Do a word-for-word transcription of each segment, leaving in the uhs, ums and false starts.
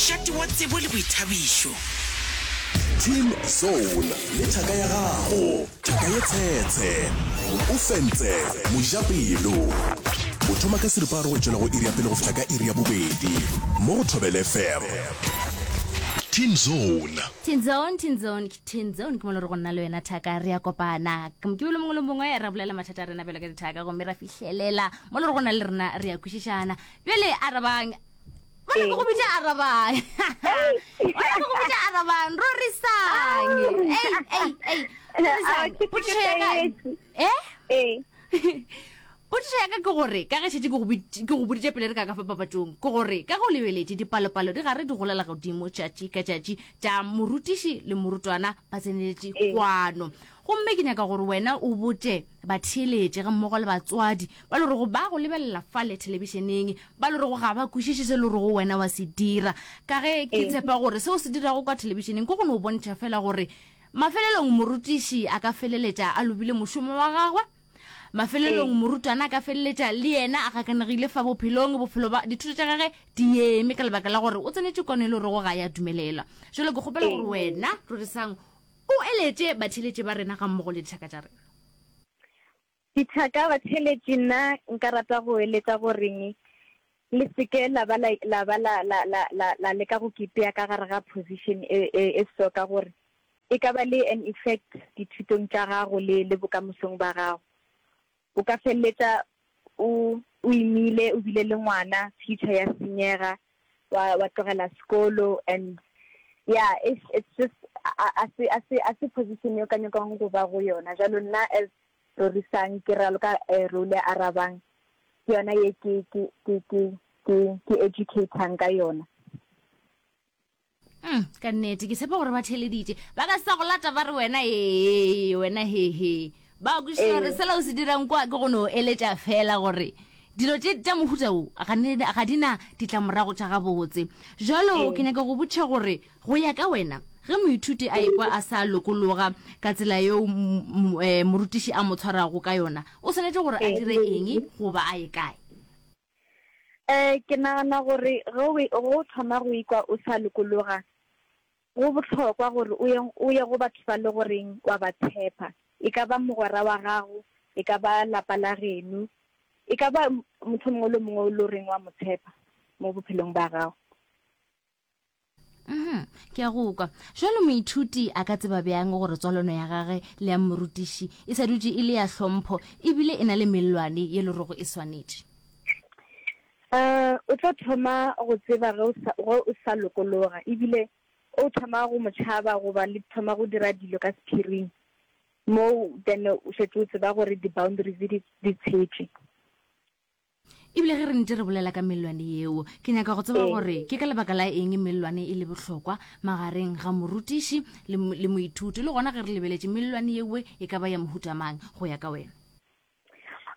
Mošate wa tsebo le boithabišo. Teen Zone le thaka ya gago, thaka ye tshetshe. O fentse mojapelo. O thoma ka seripagare go tšwela go iri ya pele go fihla ka iri ya bobedi mo go Thobela F M. Teen Zone. Teen Zone, Teen Zone, ke Teen Zone, ke mo le re go nna le wena thaka re ya kopana. Mokibelo mongwe le mongwe ra bolela mathata a rena bjalo ka dithaka, gomme ra fihlelela mo le re go na le rena re ya kwešišana. Bjale arabang, bona ke go bitša arabang, bona ke go bitša arabang, rorisang. Ei, ei, ei, rorisang. Potšišo ya ka, eh? Ee. Potšišo ya ka ke gore, ka ge šetše ke go bit- ke go boditše pele re ka ka fa papatšong, ke gore ka ge o lebeletše dipalopalo di gare di golela godimo tšatši ka tšatši tša morutiši le morutwana ba tseneletše Ee. kwano, gomme ke nyaka gore wena o botše batheeletše ga mmogo le batswadi ba le rego ba go lebelela fale thelebišeneng, ba le rego ga ba kwešiše se le rego wena wa se dira, ka ge ke Ee. tshepa gore seo se dirago kwa thelebišeneng ke go no bontšha fela gore mafelelong morutiši a ka feleletša a lobile mošomo wa gagwe, mafelelong Ee. morutwana a ka feleletša le yena a gakanegile fa bophelong, bophelo ba dithuto tša gage di eme ka lebaka la gore o tsenetše kwano e le gorego ga ya dumelelwa. Jalo ke kgopela gore Ee. wena rorisang o eletše batheeletše ba rena ga mmogo le dithaka tša rena. Dithaka, batheeletši, nna nka rata go eletša goreng le seke la ba la la ba la la la la la leka go kipea ka gare ga position e e e so, ka gore e ka ba le an effect dithutong tša gago le le bokamosong ba gago. O ka feleletša o o imile, o bile le ngwana, future ya senyega, wa wa tlogela sekolo, and yeah, it's it's just a a se a se a se position yo ka nyakang go ba go yona. Jalo nna as Rorisang ke raloka eh, role ya Arabang, ke yona ye ke ke ke ke ke ke educatang ka yona. Mm, ka nnete ke tshepa gore ba theleditše, ba ka se sa go lata ba re wena ee, wena hehe, ba kwešiša gore Ee. sela o se dirang kwa ke go no eletša fela gore dilo tše tša mohuta wo ga ne- ga di na ditlamorago tša gabotse. Jalo ke Ee. nyaka go botša gore go ya ka wena, ge moithuti a ekwa a sa lokologa ka tsela yeo m- m- eh, morutiši a mo tshwarago ka yona, o swanetše gore a Ee. dire eng goba a ye kae? Eh ke nagana gore ge o ge o thoma go ikwa o sa lokologa, go bohlokwa gore o ye o ye go batho ba le goreng wa ba tshepa. E ka ba mogwera wa gago, e ka ba lapa la geno, e ka ba motho mongwe le mongwe o le goreng wa mo tshepa mo bophelong ba gago. Mhm, ke a go kwa. Jalo moithuti a ka tseba bjang gore tswalano ya gage le ya morutiši e sa dutše e le ya hlompho ebile e na le mellwane ye le rego e swanetše? Eh o tlo thoma go tseba ge o sa ge o sa lokologa, ebile o thoma go mo tšhaba goba le thoma go dira dilo ka sephiring mo, then o šetše o tseba gore di-boundaries di di tshetše. Ebile ge re ntse re bolela ka mellwane yeo, ke nyaka go tseba Ee. gore ke ka lebaka la eng mellwane e le bohlokwa magareng ga morutiši le, mo- le moithuti, le gona ge re lebeletše mellwane yeo e ka ba ya mohuta mang go ya ka wena?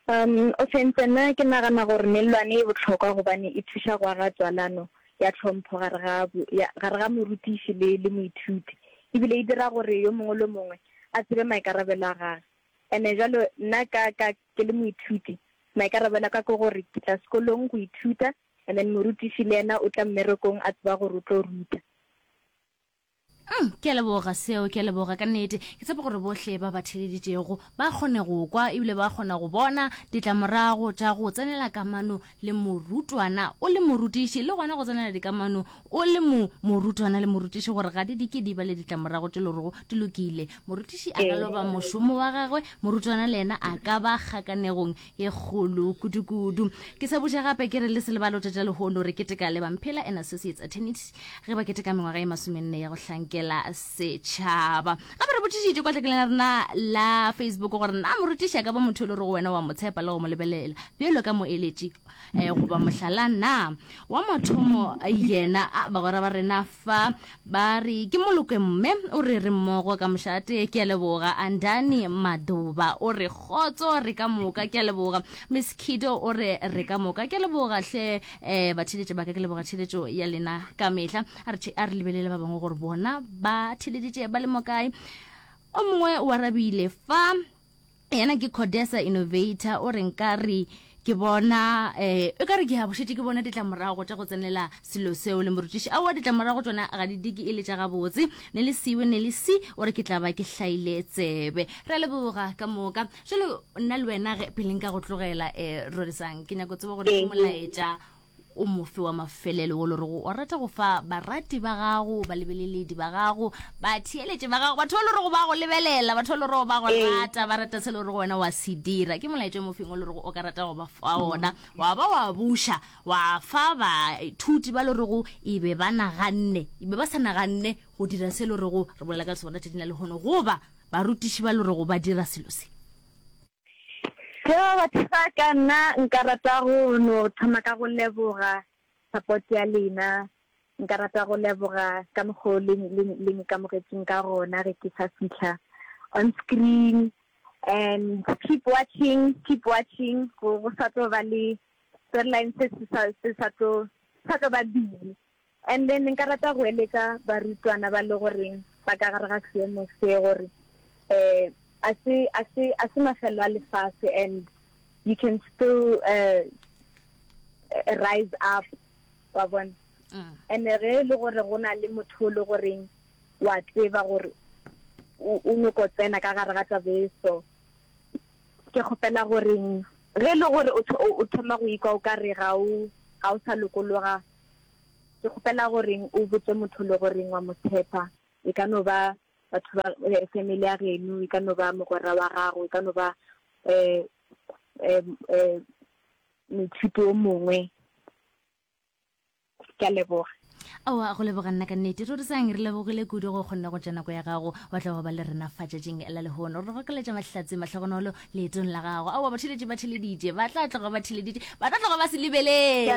Um o fentse, nna ke nagana gore mellwane e bohlokwa gobane e thuša go aga tswalano ya tlhompho gare ga bo- ya- gare ga morutiši le le moithuti, ebile e dira gore yo mongwe le mongwe a tsebe maikarabelo a gagwe. And-e jalo nna ka ka ke le moithuti, maikarabelo a ka ke gore ke tla sekolong go ithuta, and then morutiši le yena o tla mmerekong a tseba gore o tlo ruta. Mm, ke a leboga seo, ke a leboga ka nnete. Ke tshepa gore bohle ba ba theleditšego ba kgone go kwa ebile ba kgona go bona ditlamorago tša go tsenela kamano le morutwana o le morutiši, le gona go tsenela dikamano o le mo morutwana le morutiši, gore ga di di ke di ba le ditlamorago tše le gorego di lokile. Morutiši a ka Ee. loba mošomo wa gagwe, morutwana le yena a ka ba kgakanegong ye kgolo kudu-kudu. Ke sa botša gape ke re le se lebalo tša lehono re keteka le Bamphela and Associates Attorneys ge ba keteka mengwaga e masomenne ya go hlankela setšhaba. Gape re botšišitše kwa tlekeleng la rena la Facebook gore na morutiši a ka ba motho e le gore wena wa mo tshepa le go mo lebelela bjalo ka moeletši eh, goba mohlala na. Wa mathomo yena a bagwera ba rena fa ba re ke Moloke mme o re re mmogo ka mošate, ke a leboga. Andani Madoba o re kgotso re ka moka, ke a leboga. Miss Kido o re re ka moka, ke a leboga hle. um batheletše ba ka, ke leboga theletšo ya lena ka mehla. A re the- a re lebelele ba bangwe gore bona ba theleditše ba le mo kae. O mongwe o arabile fa, yena ke Codesa Innovator, o re nka re Ke bona um e kare ke a bošetše ke bona ditlamorago tša go tsenela selo seo le morutiši. Aowa, ditlamorago tšona ga di dike e le tša gabotse. Ne le siwe ne le si, o re ke tla ba ke hlaile tsebe. Re a leboga ka moka. Jalo nna le wena ge pele nka go tlogela um Rorisang, ke nyako tseba gore ke molaetša o mofe wa mafelelo wo le rego o rata go fa barati ba gago, balebeleledi ba gago, batheeletši ba gago, batho ba le rego ba go lebelela, batho ba le rego ba go rata, ba rata se le rego wena wa se dira. Ke molaetša o mofeng o le rego o ka rata go ba fa ona, wa ba wa buša wa fa baithuti ba le rego e be ba naganne, e be ba sa naganne go dira se le rego re bolela ka sona tšatšing la lehono, goba barutiši ba le rego ba dira selo se? Yo batho ba ka, nna nka rata go no thoma ka go leboga support ya lena. Nka rata go leboga ka mokgo le le le nkamogetšeng ka gona ge ke sa fihla on screen. And keep watching, keep watching, go go sa tlo ba le storyline se se sa se sa tlo sa tlo ba busy. And then nka rata go eletša barutwana ba le goreng ba ka gare ga seemo se gore eh a se a se a se mafelo a lefase, and you can still uh, rise up, wa bona. And ge e le gore go na le motho o le goreng wa tseba gore o o nyoko tsena ka gare ga taba e so, ke kgopela goreng ge e le gore o o thoma go ikwa o ka re ga o ga o sa lokologa, ke kgopela goreng o botse motho le goreng wa mo tshepa. E ka no ba batho ba family ya geno, e ka no ba mogwera wa gago, e ka no ba um um um moithuti o mongwe. Ke a leboga. Aowa, go leboga nna ka nnete. Rorisang, re lebogile kudu go kgonne go tša nako ya gago wa tla wa ba le rena fa tšatšing la lehono. Re gokeletša mahlatse mahlogonolo leetong la gago. Aowa, batheeletši ba theleditše, ba tla tloga ba theleditše, ba tla tloga ba se lebeletše.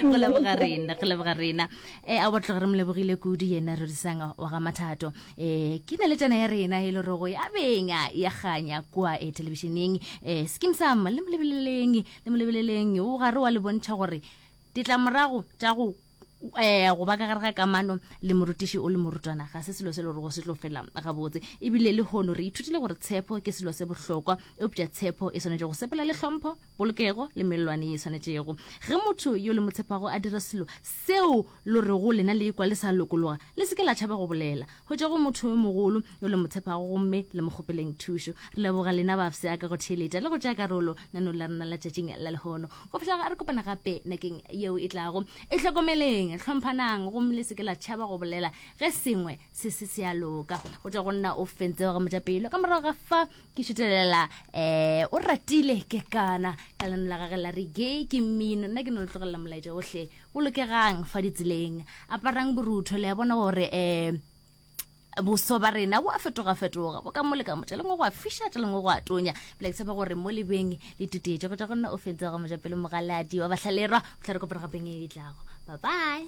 Go leboga rena, go leboga rena. E aowa, tloga re mo lebogile kudu yena Rorisang wa ga Mathato. E ke naletšana ya rena e le rogo ya benga ya kganya kua e thelebišeneng. E Skeem Saam, le mo lebeleleng, le mo lebeleleng, o gare wa le bontšha gore ditlamorago tša go eh go ba ka gare ga kamano le morutiši o le morutwana ga se selo se le gore go se tlo fela gabotse. Ebile le hono re ithutile gore tshepo ke selo se bohlokwa, eupša tshepo e swanetše go sepela le hlompho, polokego le mellwane ye e swanetšego. Ge motho yo le mo tshepago a dira selo seo lo rego lena le ikwa le sa lokologa, le se ke la tšhaba go bolela. Hwetša go motho yo mogolo yo le mo tshepago gomme le mo kgopeleng thušo. Re leboga lena bafsa ka go theeletša le go tšea karolo nanong la rena la tšatšing la lehono. Go fihla re kopana gape nakeng yeo e tlago, e hlokomeleng, hlomphanang gomme le se ke la tšhaba go bolela ge sengwe se se se a loka. Go tšwa go nna o fentse wa ga mojapelo. Ka morago ga fa ke šutelela um o ratile ke kana ka leno la gage la re gay ke mmino. Nna ke no le tlogelela molaetša ohle. Bolokegang fa ditseleng, aparang borutho. Le a bona gore um boso ba rena bo a fetoga-fetoga, bo ka mo le ka mo, tša lengwe go a fiša, tša lengwe go a tonya. Bjale ke tshepa gore mo lebeng le tutetše. Go tšwa go nna o fentse wa ga mojapelo mogaladi wa bahlalerwa. Mohla re kopana gapeng e tlago. Bye bye.